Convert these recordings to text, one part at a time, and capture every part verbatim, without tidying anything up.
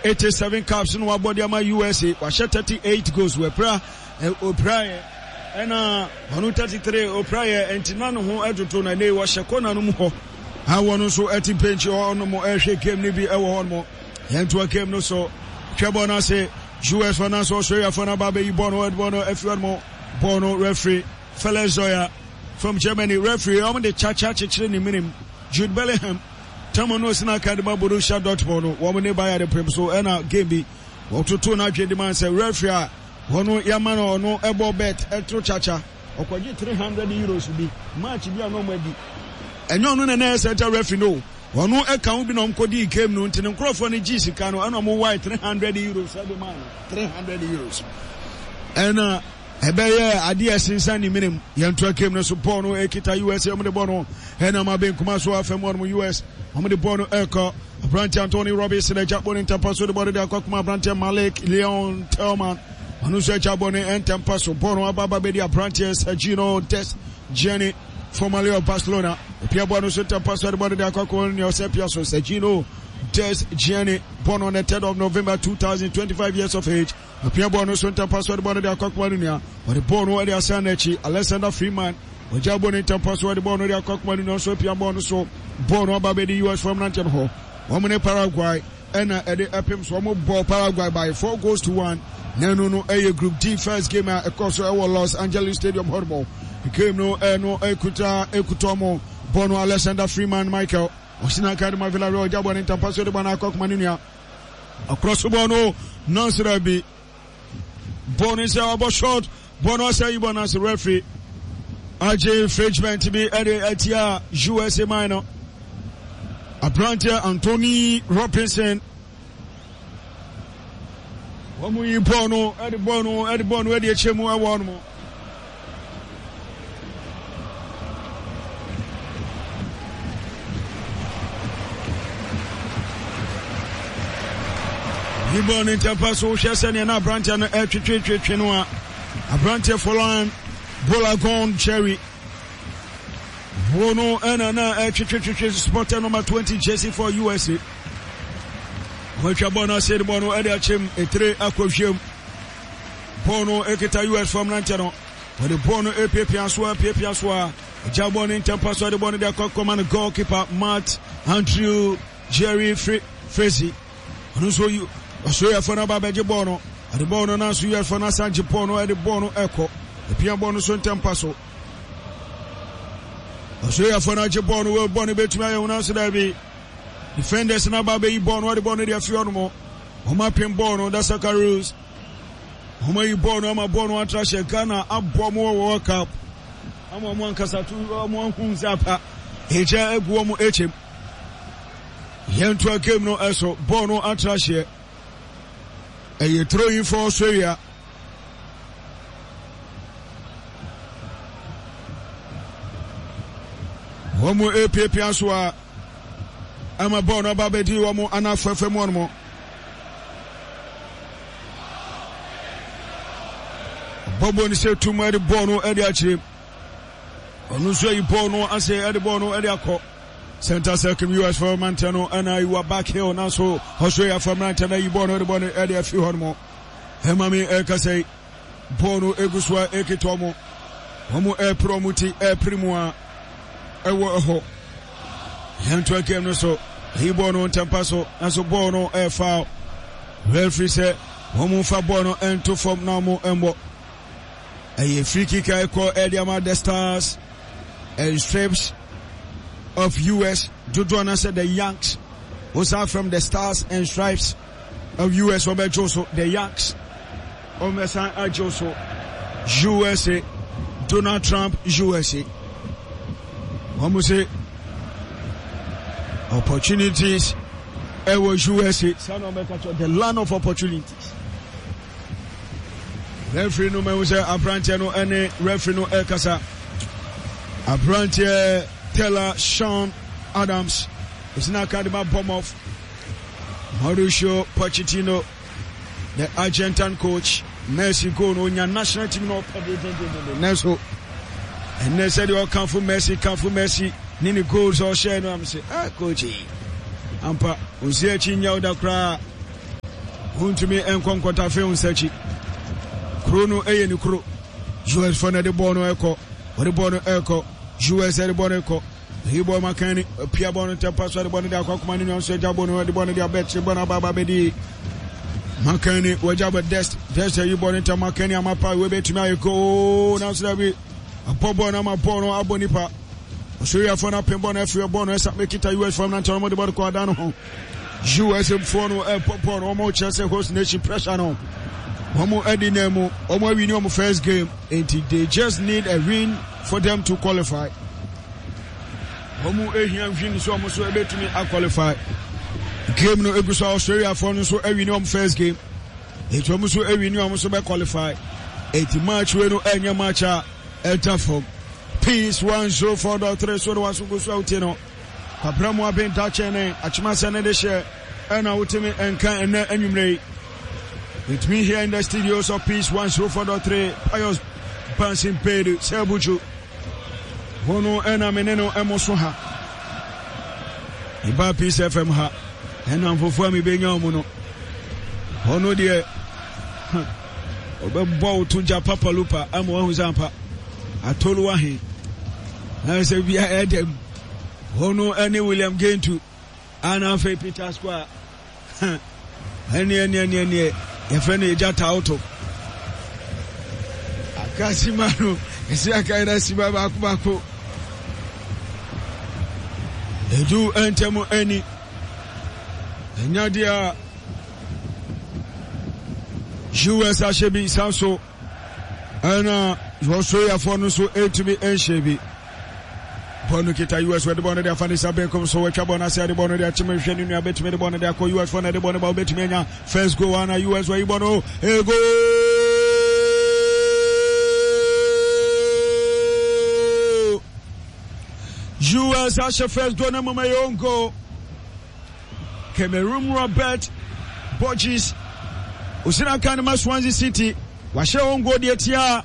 Eighty seven caps no wabɔ de ama U S A. Wahyɛ thirty eight goals. Wɔapira, opira yɛ ɛna ɔno thirty three opira yɛ, nti na ne ho ɛtoto na ne wɔhyɛ kɔna no mu hɔ a wɔn nso ɛte bench hɔ ɔnom ɛhwɛ game no bi ɛwɔ hɔ nom. Yɛntoa game no so. Hwɛ bɔɔl no ase, U S fo nanso Australia fo no aba abɛyi bɔɔl no, ɛde bɔɔl no afiri hɔ nom. Bɔɔl no, referee Felix Zwayer from Germany, referee wɔn de kyakya kyekyere ne minim. Jude Bellingham tɛmo no osina aka de ma Borussia Dortmund no, wɔn ne Bayern pem so ɛna game bi wɔtoto n'adwene de ma sɛ referee a wɔn yɛama no ɔno ɛbɔ bet ɛto kyakya, ɔkɔgye three hundred euros bi match bi a na ɔmo adi. Ɛnyɛ ɔno na ɛyɛ center referee no, ɔno ɛka ho bi na ɔmo kɔdi game no, nti ne nkurɔfoɔ no gye sika no ɛna ɔmo wae three hundred euros ɛde maa no, three hundred euros, ɛna ɛbɛyɛ adeɛ ɛsensan ne minim. Yɛntoa game no so. Bɔɔl no ekita U S A. Ɔmo de bɔɔl no ɛnam abenkuma so afɛm wɔn U S. Ɔmo de bɔɔl no ɛkɔ aberante Anthony Robinson agya bɔɔl no ntɛmpa so de bɔɔl no de akɔ akoma aberante Malik Leon Tillman. Ɔno nso agya bɔɔl no ntɛmpa so. Bɔɔl no aba aba bɛdi aberante Sergino Dest Gianni, formerly of Barcelona. Opia bɔɔl no so ntɛmpa so de bɔɔl no de akɔ akɔ nea ɔsɛ pia so. Sergino Dest Gianni, born on the third of November two thousand, twenty-five years of age. Apia bɔɔl no so ntɛmpa so de bɔɔl no de akɔ akoma no nua. Ɔde bɔɔl no de asan n'akyi, Alexander Freeman. Ɔgya bɔɔl no ntɛmpa so de bɔɔl no de akɔ akoma no nua nso apia bɔɔl no so. Bɔɔl no aba bɛdi U S fam nanteɛ no hɔ. Wɔn ne Paraguay ɛna ɛde ɛpem so. Wɔn bɔ Paraguay by four goals to one. Na ɛno no ɛyɛ Group D first game a ɛkɔ so ɛwɔ Los Angeles Stadium hɔ nom. Game no ɛno ɛkuta ɛkuta wɔn bɔɔl no. Alexander Freeman Michael ɔsina aka de ma Villarreal. Ɔgya bɔɔl no ntɛmpa so de bɔɔl no akɔ akoma no nua. Ɔkorɔ so bɔɔl no nansera bi bɔɔl no sɛ ɔbɔ short bɔɔl no ɔsɛ yi bɔɔl no ase. Referee agye infringement bi ɛde atia U S A man no aberanteɛ Anthony Robinson. Wɔn yi bɔɔl no ɛde bɔɔl no ɛde bɔɔl no ɛde akyɛ mu ɛwɔ hɔ nom. Yi bɔɔl no ntɛmpa so. Wohwɛ sɛdeɛ na aberanteɛ no ɛtwetwetwetwe no a, aberanteɛ Folarin Balogun Jerry wo no ɛna na ɛtwetwetwetwe supporter number twenty jersey for U S A. Wɔatwa bɔɔl no ase de bɔɔl no ɛde akyɛm etire akɔhwɛm. Bɔɔl no ekita U S fam nankyɛ no. Wɔde bɔɔl no epiapia so, apiapia so a agya bɔɔl no ntɛmpa so de bɔɔl no de akɔ akɔma no goalkeeper Matt Andrew Jerry Frezi. Ɔno nso yi Australiafoɔ no aba abɛgye bɔɔl no. Ɔde bɔɔl no nanso U S foɔ no asan gye bɔɔl no ɛde bɔɔl no ɛkɔ epia bɔɔl no so ntɛmpa so. Australiafoɔ no agye bɔɔl no. Wɔ bɔɔl no bɛtumi ayɛ wɔn nanso daabi, defenders no aba abɛyi bɔɔl no. Ɔde bɔɔl no de afi hɔ nom. Wɔn apem bɔɔl no. The Socceroos wɔn ayi bɔɔl no ama bɔɔl no atra hyɛ Ghana abɔ mo wɔ World Cup ama wɔn ankasa to wɔn ahu sɛ apa ɛgya agu wɔn akyɛm. Yɛntoa game no ɛso. Bɔɔl no atra hyɛ, ɛyɛ throwing for Australia. Wɔn mu epiapia so a ama bɔɔl no aba abɛdi wɔn anafɛfɛ mu wɔn bɔbɔ no sɛ tum ɛde bɔɔl no ɛde akyerɛ. Ɔno nso ayi bɔɔl no ase ɛde bɔɔl no ɛde akɔ center circle. U S fo mmeranteɛ no ɛna ayiwa back heel, nanso Australia fo mmeranteɛ no ayi bɔɔl no ɛde bɔɔl no ɛde afi hɔ nom. Ɛma mi ɛkasa yi, bɔɔl no egu so a ekita wɔn. Wɔn ɛɛpere wɔn ti ɛɛpere mu a ɛwɔ ɛhɔ. Yɛntoa game no so. Ɛyi bɔɔl no ntɛmpa so, nanso bɔɔl no ɛɛfa. Referee sɛ wɔn mfa bɔɔl no ɛnto fam na wɔn ɛmbɔ. Ɛyɛ free kick a ɛkɔ ɛde ama the Stars and Stripes of U S, dodoɔ no sɛ the Yanks. Wosan from the Stars and Stripes of U S, wɔbɛgye so the Yanks, wɔbɛsan agye so U S A, Donald Trump U S A. Wɔn sɛ opportunities ɛwɔ U S A, saa na wɔbɛka kyerɛ, the land of opportunities. Referee no mahu sɛ aberanteɛ no ɛne referee no ɛrekasa. Aberanteɛ Taylor Sean Adams ɛsina aka de ma Bournemouth. Mauricio Pochettino, the Argentine coach, Messi goal no onya national team no ɔpɛ dendendenden, nanso ɛnɛ sɛdeɛ ɔkamfo Messi, kamfo Messi ne ne goals a ɔhyɛ no am sɛ, ah, coach yi ampa ɔnsi akyi nya wo da koraa. Wontumi nkɔ nkɔtafe wo nsa akyi. Kuro no yɛ ne kuro. U S foɔ no de bɔɔl no ɛkɔ. Wɔde bɔɔl no ɛkɔ. U S de bɔɔl no ɛkɔ. Eyi bɔɔl ma kan ni. Pia bɔɔl no ntɛmpa so de bɔɔl no de akɔ akoma ne nua nso agya bɔɔl no de bɔɔl no de abɛkyere bɔɔl no aba aba bɛdi. Makan ni wɔgya bɔ Dest. Dest ayi bɔɔl no ntɛm makan ni ama pa wei bɛtumi ayɛ goal nanso dabi. Abɔ bɔɔl no ama bɔɔl no abɔ nipa. Australiafoɔ no apem bɔɔl no afiri bɔɔl no ɛsa mɛkita U S foɔ no nantɛ wɔn de bɔɔl kɔ adan no ho. U S foɔ no ɛbɔ bɔɔl no, wɔn kyerɛ sɛ host nation pressure no wɔn adi na mu, wɔn awin wɔn first game, nti they just need a win for them to qualify. Wɔn ehia win so wɔn nso ebetumi aqualify. Game no egu so, Australia foɔ no nso awin wɔn first game, eti wɔn nso awin, wɔn nso bɛ qualify. Eti match wei no ɛnyɛ match a ɛda fam. Peace one zero four dot three so de wɔn aso gu so a wotie no. Kwabra mu aben dakyɛ ne akyemasɛ ne de hyɛ ɛna wotumi nka ɛnɛ anwummerɛ yi. With me here in the studios of Peace one oh four point three, Pius Bansin Pedu sɛ abuju hono ɛna me ne no ɛmo so ha. Ɛba Peace F M ha, ɛna mfofoɔ a mebɛnya ɔmo no, ɔno deɛ ɔbɛbɔ wo to gya papalupa ama wahu sɛ ampa atolu ahe na sɛ bia ɛdɛm. Ɔno ɛne William Gentu ana afei Peter Square ɛne ɛne ɛne ɛne yɛfrɛ no yɛgya tawoto aka sima no ɛsi aka yɛrɛ sima baako baako edu ntɛm ani ɛnya deɛ a U S ahyɛ bi san so ɛna Australiafoɔ no nso ɛntumi ɛnhyɛ bi. Bɔɔl no kita U S, wɔde bɔɔl no de afa ne nsa benkum so, wɔatwa bɔɔl no ase de bɔɔl no de akyem hwɛ ne nua bɛtumi de bɔɔl no de akɔ. U S foɔ no de bɔɔl no ba, wɔbɛtumi anya first goal ana? U S wɔyi bɔɔl no, e goal! U S ahyɛ first goal no mmom, ɛyɛ own goal. Cameroon Robert Borges osina kan ma Swansea City wahyɛ own goal deɛ tia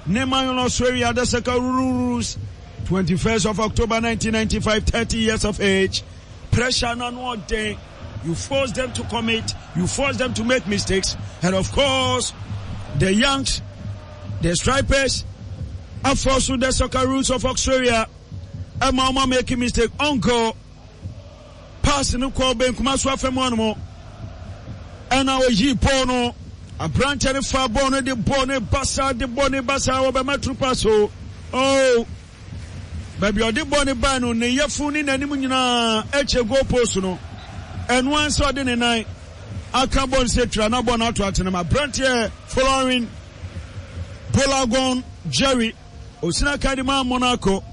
ne man no Australia, the Socceroos, twenty-first of October nineteen ninety-five, thirty years of age. Pressure na no ɔden. You force them to commit, you force them to make mistakes, and of course the Yanks, the Stripers, aforce the Socceroos of Australia ɛma ɔma making mistake on goal. Pass no kɔ benkuma so afɛm hɔnom ɛna oyi bɔɔl no, aberanteɛ no fa bɔɔl no de bɔɔl no basa de bɔɔl no basa, wɔbɛma true pass o. Oh, baabi a ɔde bɔɔl no baa no, ne yɛfo ne n'anim nyinaa ɛkyɛ goal post no. Ɛno ansa ɔde ne nan aka bɔɔl no sɛ twira na bɔɔl no ato atenam. Aberanteɛ following Bolagon Jerry osina kadima Monaco,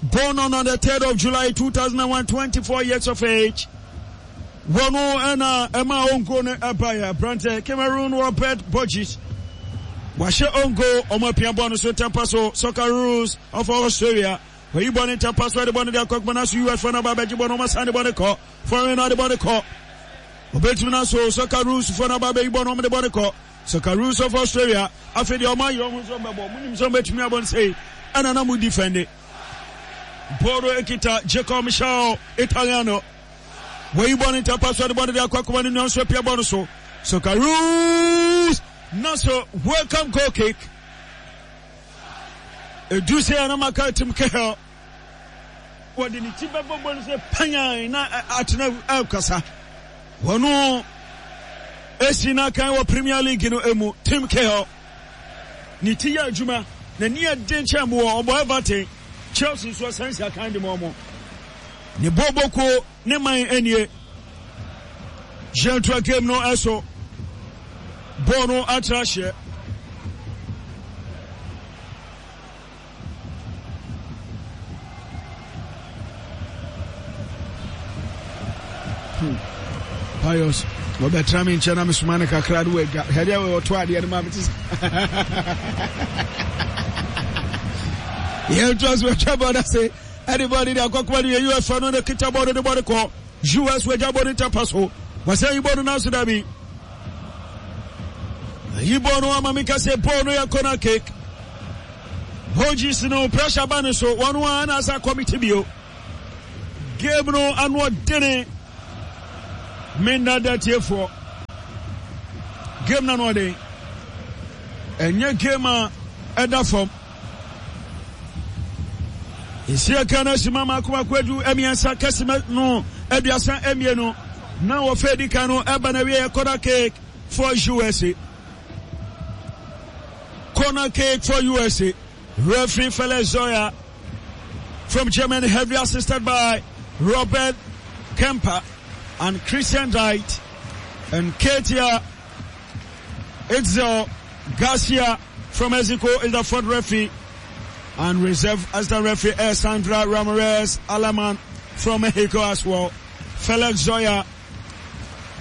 born on the third of July two thousand one, twenty-four years of age. Wɔn ɛna ɛma own goal no ɛba yɛ aberanteɛ Cameroon Robert Borges wahyɛ own goal. Ɔmo apia bɔɔl no so tɛmpa so. Socceroos of Australia wɔyi bɔɔl no ntɛmpa so, ɛde bɔɔl no de akɔ akoma no so. U S fo no aba abɛgye bɔɔl no, ɔmo asan de bɔɔl no kɔ foreign no, ɔde bɔɔl no kɔ, obetumi na so. Socceroos fo no aba abɛyi bɔɔl no, ɔmo de bɔɔl no kɔ. Socceroos of Australia afei deɛ ɔmo ayɛ ɔmo nso bɛbɔ, ɔmo nim sɛ ɔmo bɛtumi abɔ no sei ɛna na mo defend. Bɔɔl no ekita Jacob Michel Italiano, wɔyi bɔɔl no ntɛmpa so, ɛde bɔɔl no de akɔ akoma no nua nso apia bɔɔl no so. Socceroos na so welcome goal kick. Edu sɛ ɛna maka Tim Cahill wɔde ne ti bɛbɔ bɔɔl no sɛ panyan na atena ɛkasa. Wɔn esi n'akan wɔ Premier League no emu. Tim Cahill ne ti yɛ adwuma, n'ani yɛ den kyɛn boɔ. Ɔbɔ Everton, Chelsea nso ɔsan si akan de mu ɔmo ne bɔɔbɔkuo ne man anie. Yɛntoa game no ɛso. Bɔɔl no atra hyɛ. Hmm. Pius wɔbɛtra me nkyɛn na mesoma no kakra no wadwa hɛdeɛ wɔto adeɛ no ma mete sɛ yɛntoa so. Atwa bɔɔl no ase ɛde bɔɔl no de akɔkoma no yɛ U S no ne kita bɔɔl no de bɔɔl kɔ U S, wagya bɔɔl no ntɛmpa so, wɔsɛ yi bɔɔl no nanso dabi, yi bɔɔl no ama meka sɛ bɔɔl no yɛ corner kick. Hodges no pressure ba no so, wɔn a na asa committee bio. Game no ano ɔdene, menna da tiefoɔ. Game na no ɔden. Ɛnyɛ game a ɛda fam. Esi aka no asima mako mako adu mmiɛnsa kɛse no aduasa mmienu na wɔfɛ di kan no ɛba na wie corner kick for U S A. Corner kick for U S A. Referee Felix Zoya from Germany, heavily assisted by Robert Kemper and Christian Wright and Katia Itzel Garcia from Mexico is the fourth referee. And reserve as the referee is Sandra Ramirez Alaman from Mexico as well. Felix Zoya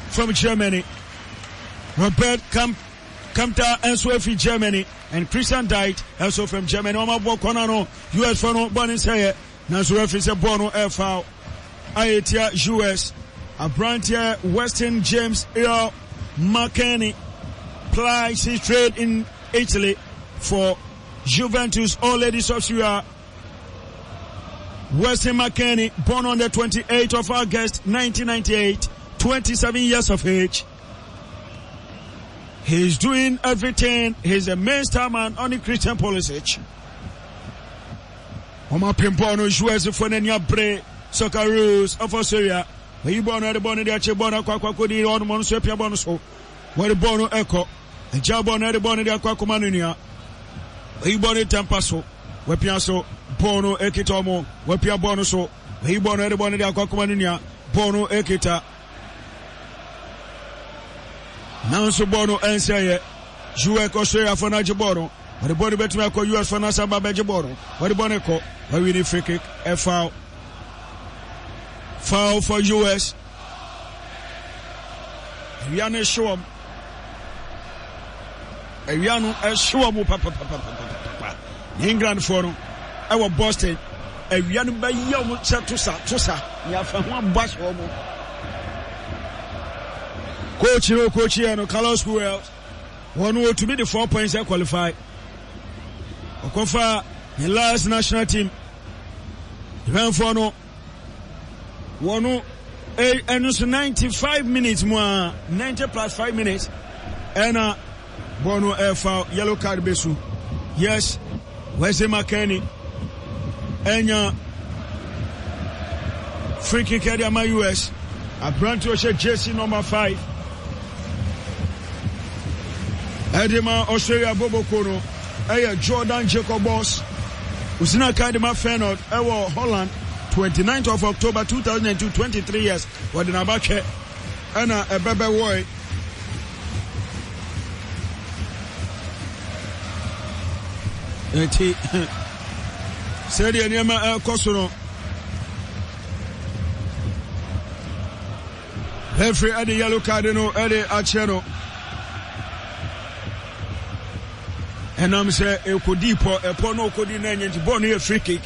from Germany. Robert Camp Kempter nso fi Germany and Christian Dite also from Germany. Wɔn abɔ kɔna no U S fo no bɔ ne nsɛyɛ nanso referee sɛ bɔɔl no ɛyɛ foul a etia U S. Aberanteɛ Weston James Earl McKennie plies his trade in Italy for Juventus, All Ladies of Syria. Weston McKennie, born on the twenty-eighth of August nineteen ninety-eight, twenty-seven years of age. He's doing everything. He's a main star man on the Christian Pulisic. Wɔn apem bɔɔl no U S fo n'ani abere. Socceroos of Australia. Wɔyi bɔɔl no, ɛde bɔɔl no de akyɛ bɔɔl no akɔ akɔ akɔdi ɔnom ɔno nso apia bɔɔl no so. Wɔde bɔɔl no ɛkɔ. Agya bɔɔl no, ɛde bɔɔl no de akɔ akɔma no nua. Wɔyi bɔɔl no tɛmpa so. Wɔapia so, bɔɔl no ekita ɔmo. Wɔapia bɔɔl no so. Wɔyi bɔɔl no, ɛde bɔɔl no de akɔ akɔma no nua. Bɔɔl no ekita. Nanso bɔɔl no ɛnsɛ yɛ. U S Australia fo no agye bɔɔl no. Wɔde bɔɔl no bɛtumi akɔ U S fo no asan ba bɛgye bɔɔl no. Wɔde bɔɔl no kɔ. Wɔawi ne free kick. Ɛ foul. Foul for U S. Awia no ehye wɔn. Awia no ɛhye wɔn papapapapapa. Na England foɔ no ɛwɔ Boston. Awia no bɛyɛ wɔn sɛ tosa tosa. Ní afa ho abɔ ahyɛ wɔn. Coach no, coach yɛ no Carlos Queiroz. Wɔn wɔtumi de four points qualify. Ɔkɔfa ne last national team. Iranfoɔ no wɔn ɛno so ninety five minutes mu a, ninety plus five minutes, ɛna bɔɔl no ɛfa yellow card bɛ so. Yes, Wesley McKennie ɛnya free kick ɛde ama U S. Aberante ɔhyɛ jersey number five ɛde ma Australia boboko no ɛyɛ Jordan Jacobs. Osina kan de ma Feyenoord ɛwɔ Holland, twenty-ninth of October two thousand two, twenty-three years. Wɔde n'abatwɛ ɛna ɛbɛbɛ wɔe. Nti sɛdeɛ nneɛma ɛrekɔ so no, referee ɛde yellow card no ɛde akyerɛ no ɛnam sɛ ɛkɔdii pɔ ɛpɔ no ɔkɔdi no ɛnyɛ, nti bɔɔl no yɛ free kick.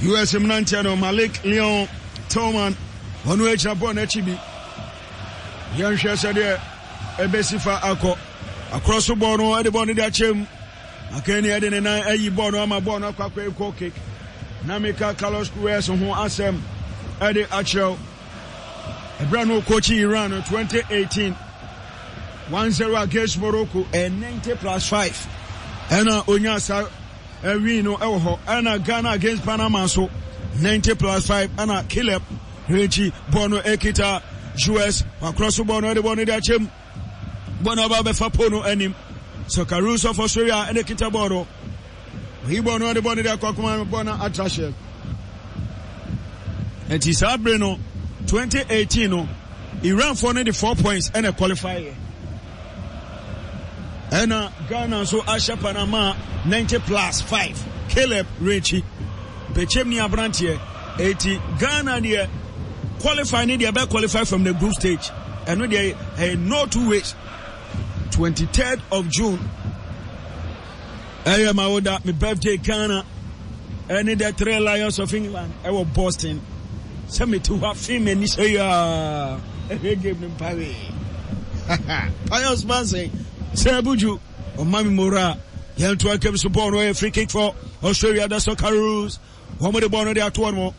U S mmeranteɛ no, Malik Leon Tillman, ɔno agyina bɔɔl no akyi bi. Yɛnhwɛ sɛdeɛ ɛbɛsi fa akɔ. Akorɔ so bɔɔl no, ɛde bɔɔl no de akyɛ mu. Akani ɛde ne nan ayi bɔɔl no ama bɔɔl no akɔ akɔ goal kick. Na meka Carlos Queiroz ho asɛm ɛde akyerɛw. Ɛberɛ no ɔkɔkyi Iran no twenty eighteen, one zero against Morocco, ɛ ninety plus five ɛna onya saa ɛwin no ɛwɔ hɔ. Ɛna Ghana against Panama nso, ninety plus five ɛna Caleb Rekyi bɔɔl no ekita U S. Wakorɔ so bɔɔl no, ɛde bɔɔl no de akyɛm. Bɔɔl no aba bɛfa pole no anim. Socceroos of Australia ɛna ekita bɔɔl no. Oyi bɔɔl no, ɛde bɔɔl no de akɔ akoma. Bɔɔl no atra hyɛ. Nti saa bere no twenty eighteen no, Iranfoɔ no de four points ɛna qualify yɛ, ɛna Ghana nso ahyɛ Panama ninety plus five. Caleb Rekyi pɛkyɛm ni aberanteɛ. Eti Ghana deɛ, qualify ne deɛ bɛ qualify from the group stage. Ɛno deɛ ɛyɛ no two ways. twenty-third of June ɛyɛ ma wo da me birthday. Ghana ɛne the Three Lions of England ɛwɔ Boston. Sɛ mete hɔ afe m'ani sɛ yaa ɛhwɛ game no mpawe. Pius Manson sɛ abuju ɔma me mora. Yɛnto akam so. Bɔɔl no ɛyɛ free kick for Australia. The Socceroos, wɔn de bɔɔl no de ato wɔn mo.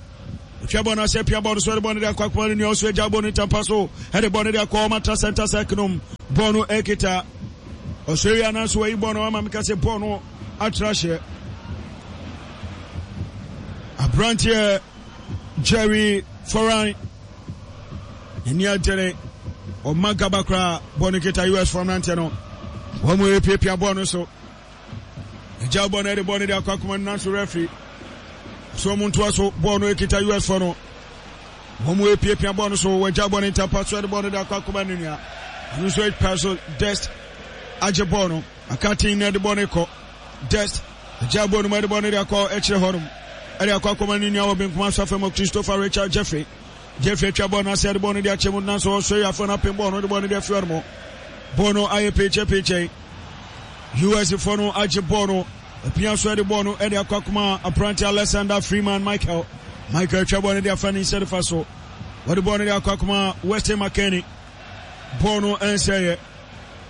Otwa bɔɔl no asɛ pia bɔɔl no so, ɛde bɔɔl no de akɔ akoma no nua ɔso agya bɔɔl no tampa so, ɛde bɔɔl no de akɔ ɔmo atra center circle no mu. Bɔɔl no ɛkita Australia nanso wɔyi bɔɔl no ama meka sɛ bɔɔl no atra hyɛ aberanteɛ Jerry Foran n'ani agyere ɔma gaba koraa. Bɔɔl no kita U S fo mmeranteɛ no, wɔn mu epiapia bɔɔl no so, agya bɔɔl no ɛde bɔɔl no de akɔ akoma no, nanso referee so wɔn ntoa so. Bɔɔl no ekita U S fo no, wɔn mu epiapia bɔɔl no so, wɔagya bɔɔl no ntampa so, ɛde bɔɔl no de akɔ akoma no nua, ɔno nso epa so. Dest agye bɔɔl no akaten na ɛde bɔɔl no kɔ. Dest agya bɔɔl no mu, ɛde bɔɔl no de akɔ akyire hɔnom, ɛde akɔ akɔma ne nua wɔ benkum aso afɛm, Christopher Richard Jeffrey. Jeffrey atwa bɔɔl no ase, ɛde bɔɔl no de akyɛ mu, nanso Australia fo no apem bɔɔl no, de bɔɔl no de afiri hɔnom. Bɔɔl no ayɛ peekyɛ peekyɛ. U S fo no agye bɔɔl no apia so, ɛde bɔɔl no ɛde akɔ akoma aberante Alexander Freeman Michael. Michael atwa bɔɔl no de afa ne nsa nifa so, wɔde bɔɔl no de akɔ akoma Weston McKennie. Bɔɔl no ɛnsɛeɛ,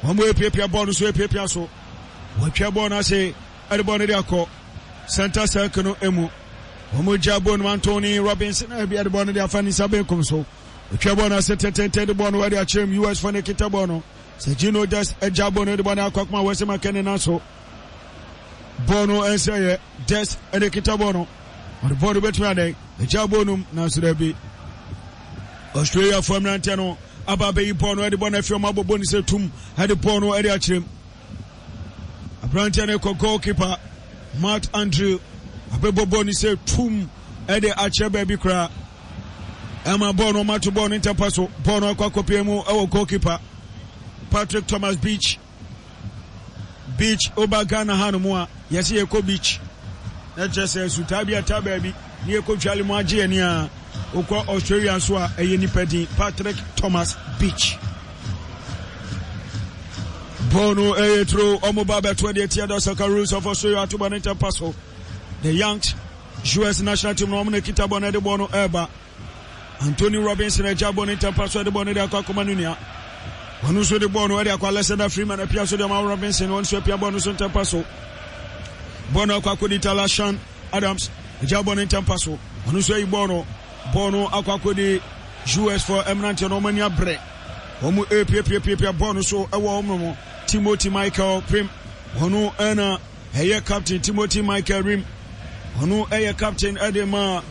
wɔn mo epiapia bɔɔl no so, epiapia so, wɔatwa bɔɔl no ase, ɛde bɔɔl no de akɔ center circle no emu. Wɔn mo gya bɔɔl no, Anthony Robinson ɛbi ɛde bɔɔl no de afa ne nsa benkum so, otwa bɔɔl no ase tɛntɛntɛn, de bɔɔl no ɛde akyerɛ mu. U S fo ne kita bɔɔl no sɛ Gino Dest ɛgya bɔɔl no, de bɔɔl no akɔ akoma Weston McKennie, nanso bɔɔl no ɛnsɛeɛ. Dest ɛde kita bɔɔl no, ɔde bɔɔl no bɛtumi adɛn ɛgya bɔɔl no mu, nanso dɛbi, Australia fo mmeranteɛ no aba abɛyi bɔɔl no, ɛde bɔɔl no afi ɔmo abɔbɔ ne sɛ tum, ɛde bɔɔl no ɛde akyerɛ mu. Aberanteɛ no kɔ, goalkeeper Matt Andrew abɛbɔ bɔɔl no sɛ tum, ɛde akyerɛ baabi koraa, ɛma bɔɔl no ɔmato bɔɔl no ntɛmpa so. Bɔɔl no akɔ akɔpie mu ɛwɔ goalkeeper Patrick Thomas Beach. Beach, oba Ghana ha no mu a, yɛsɛ yɛkɔ beach na kyerɛ sɛ sutaa bi ata baabi ne yɛkɔ twale mu agye ani a, wokɔ Australia nso a, ɛyɛ nipa din Patrick Thomas Beach. Bɔɔl no ɛyɛ turo, ɔmo ba bɛto deɛ tia the Socceroos of Australia ato bɔ ne ntɛmpa so. The Yanks U S national team no, ɔmo na kita bɔɔl no, ɛde bɔɔl no ɛɛba. Anthony Robinson agya bɔɔl ne ntɛmpa so, ɛde bɔɔl no de akɔ akɔma no nua, ɔno nso de bɔɔl no ɛde akɔ. Alexander Freeman apia so de ama Robinson, ɔno nso apia bɔɔl no so ntɛmpa so. Bɔɔl no akɔ akɔdi Talashan Adams, agya bɔɔl no ntɛmpa so, ɔno nso ayi bɔɔl no. Bɔɔl no akɔ akɔdi U S fo mmeranteɛ no, wɔn ani abrɛ, wɔn epiapiapiapia bɔɔl no so ɛwɔ wɔn mu. Timothy Michael Prim, ɔno ɛna ɛyɛ captain. Timothy Michael Rim, ɔno ɛyɛ captain ɛde ma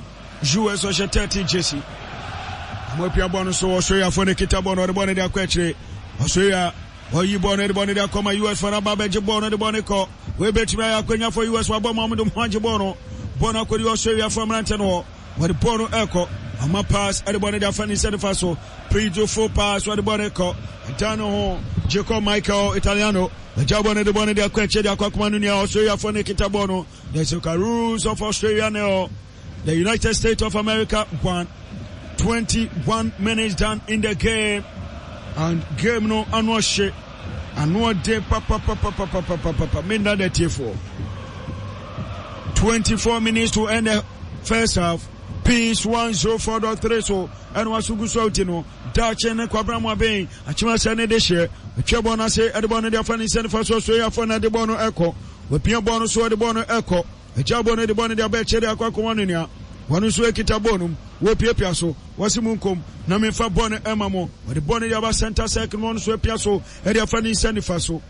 U S, ɔhyɛ thirteen jersey. Wɔn apia bɔɔl no so. Australiafoɔ no kita bɔɔl no, ɔde bɔɔl no de akɔ akyire. Australia ɔyi bɔɔl no, de bɔɔl no de akɔ ma U S fo no, aba abɛgye bɔɔl no, de bɔɔl no kɔ. Wei bɛtumi ayɛ akɔnya for U S, wabɔ ma wɔn de ho agye bɔɔl no. Bɔɔl no akɔdi Australiafoɔ mmeranteɛ no hɔ, wɔde bɔɔl no ɛkɔ, ama pass, ɛde bɔɔl no de afa ne nsa nifa so, beautiful pass, wɔde bɔɔl no kɔ, ɛdan ne ho Jacob Michael Italiano, agya bɔɔl no, de bɔɔl no de akɔ akyire, de akɔ akoma no nua. Australiafoɔ no kita bɔɔl no. The Socceroos of Australia nil, the United States of America one. twenty-one minutes done in the game, and game no ano ɔhye, ano ɔden papapapapapapapa. Menna da tiefoɔ. twenty-four minutes to end the first half. Peace one oh four point three so ɛna waso gu so awuti no daakye ne Kwabena mu abɛn akyema sɛ ne de hyɛ atwa bɔɔl no ase, ɛde bɔɔl no de afa ne nsa nifa so. Australiafoɔ na ɛde bɔɔl no ɛkɔ, wapia bɔɔl no so, ɛde bɔɔl no ɛkɔ, agya bɔɔl no, de bɔɔl no de aba akyire de akɔ akɔma no nua, wɔn nso ekita bɔɔl no mu, wɔpiapia so, wɔsi mu nkom na memfa bɔɔl no ɛma mo. Wɔde bɔɔl no de aba center circle no, wɔn nso apia so, ɛde afa ne nsa nifa so,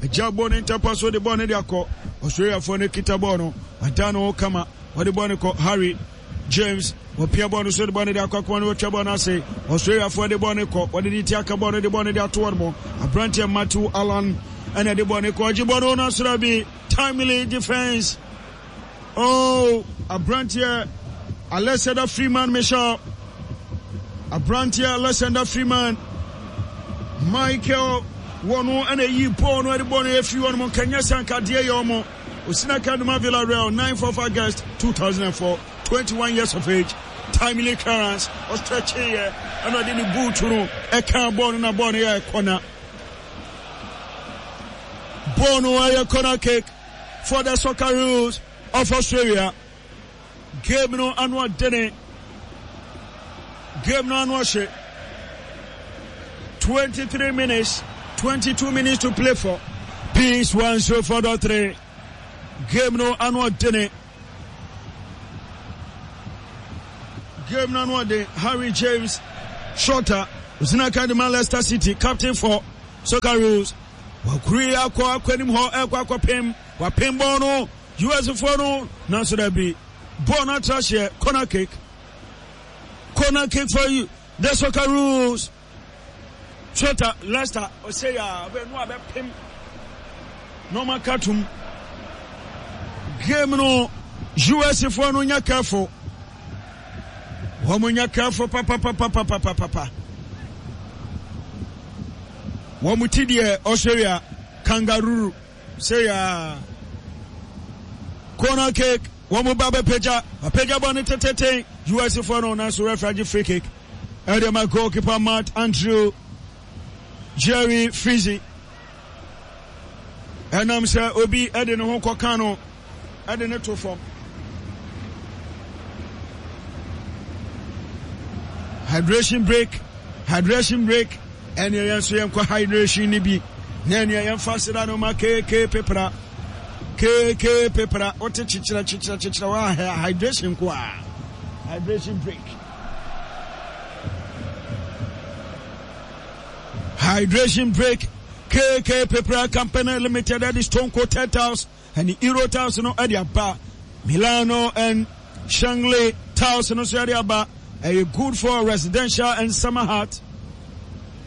agya bɔɔl no ntɛmpa so, de bɔɔl no de akɔ. Australiafoɔ no kita bɔɔl no, ada no kama, wɔde bɔɔl no kɔ. Harry James wɔpia bɔɔl no so, de bɔɔl no de akɔ akoma no, wɔtwa bɔɔl no ase. Australiafoɔ de bɔɔl no kɔ, wɔde ne ti aka bɔɔl no, de bɔɔl no de ato wɔn mo. Aberanteɛ Matthew Allan ɛna de bɔɔl no kɔ, ɔgye bɔɔl no no asora bi, timely defense. Oh, aberanteɛ Alexander Freeman Michel, aberanteɛ Alexander Freeman Michael, wɔn ɛna eyi bɔɔl no, ɛde bɔɔl no efiri wɔn mo nkanyɛ sankadeɛ yɛ wɔn. Osinaka Numa Villarreal, ninth of August two thousand four, twenty-one years of age. Timely clearance, ɔstretch yɛ, ɛna ɔde ne boot no ɛka bɔɔl no, na bɔɔl no yɛ corner. Bɔɔl no ɛyɛ corner kick for the Socceroos of Australia. Game no ano ɔdene, game no ano ɔhye. twenty-three minutes, twenty-two minutes to play for Peace one oh four point three. Game no ano ɔdene, game no ano ɔden. Harry James Shorter, Osinaka de ma Leicester City, captain for Socceroos. Wakuri akɔ akɔ anim hɔ ɛkɔ akɔpem wapem bɔɔl no U S foɔ no, nanso dabi, bɔɔl no atra hyeɛ. Corner kick, corner kick for you, the Socceroos. Shota Leicester ɔsɛ yɛ a ɔbɛ no abɛpem na ɔma katum game no. U S foɔ no nyɛ careful, wɔn nyɛ careful papapapapapapa. Wɔn ti deɛ Australia kangaroo sɛ yɛ corner kick, wɔn ba bɛpagya apagya bɔ ne teteten U S foɔ no, nanso referee agye free kick ɛde ma goalkeeper Matt Andrew Jerry Frizzy, ɛnam sɛ obi ɛde ne ho kɔka no ɛde ne to fam. Hydration break, hydration break. Ɛne yɛn nso yɛnkɔ hydration ni bi na ɛne yɛmfa seda no ma keeke pepra keeke pepra wote kyekyerɛ kyekyerɛ kyekyerɛ wa hydration ko a hydration break, hydration break. K K Pepra Company Limited ɛde stone coated tiles ɛne Euro tiles no ɛde aba. Milano and Shangley tiles no nso ɛde aba. Ɛyɛ good for residential and summer hut.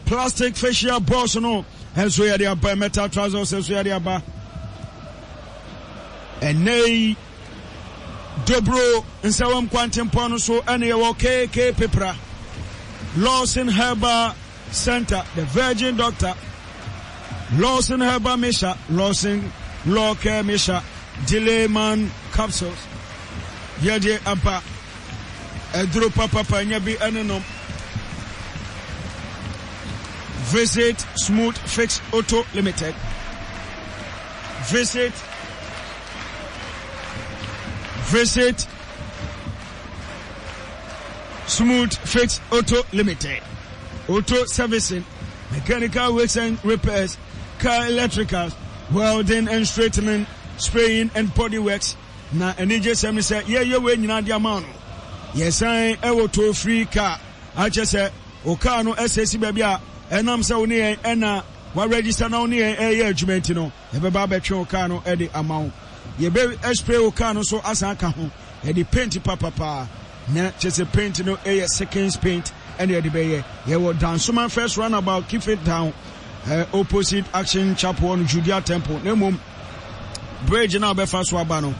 Plastic fascia boards no ɛnso yɛde aba. Metal trousers nso yɛde aba. Ɛnɛ yi Dobro Nsawam kwantempɔn no so ɛne yɛwɔ K K Pepra. Lawson Herbal Center, the Virgin Doctor, Lawson Herbal Mixture, Lawson Law Care Mixture, Delayman capsules yɛde aba. Ɛduro papapa nya bi ɛne nom. Visit Smooth Fix Auto Limited. Visit visit Smooth Fix Auto Limited. Auto servicing, mechanical works and repairs, car electricals, welding and straightening, spraying and body works. Na anigye sɛm ne sɛ yɛyɛ wei nyinaa de ama no, yɛsan ɛwɔ toll free car akyɛ sɛ o car no ɛsɛ si baabi a ɛnam sɛ wo ne yɛn ɛna wa register na wo ne yɛn ɛyɛ adwuma nti no, yɛbɛba abɛtwe wo car no ɛde ama wo. Yɛbɛ spray wo car no so asan aka ho, yɛde paint papapaa na kyɛ sɛ paint no ɛyɛ seconds paint ɛne yɛde bɛyɛ. Yɛwɔ Dansoman First Roundabout, keep it down, uh, opposite Action Chapel no, Judea Temple, na mmom bridge na wobɛfa so aba no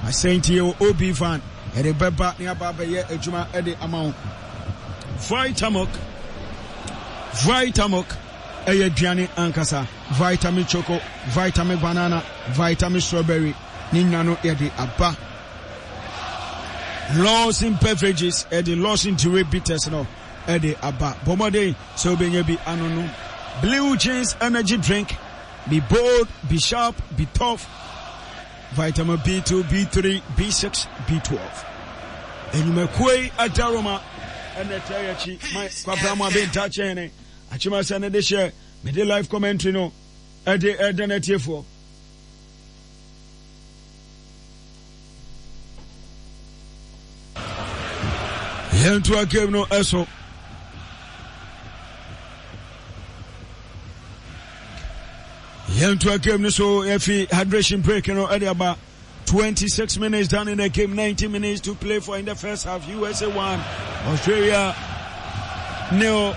asɛn nti yɛwɔ ob van yɛde bɛba ne aba abɛyɛ adwuma ɛde ama wo. Vitamilk, Vitamilk ɛyɛ aduane ankasa. Vitamin Choco, Vitamin Banana, Vitamin Strawberry ne nyina no yɛde aba. Lawson Beverages ɛde Lawson Dure Bitters no ɛde aba. Bɔ mmɔden sɛ wobɛnya bi ano no. Blue Jeans Energy Drink, be bold, be sharp, be tough. Vitamin B two, B three, B six, B twelve. Enyumakuo yi adaroma ɛna ɛtɛ yɛ akyi ma Kwabra mu abɛnta kyɛn akyima sɛ ne de hyɛ mede live commentary no ɛde ɛda n'atiefoɔ. Yɛntoa game no ɛso. Yɛntoa game no so. Yɛfi hydration break no ɛde aba. twenty-six minutes done in the game, ninety minutes to play for in the first half. U S A one, Australia nil.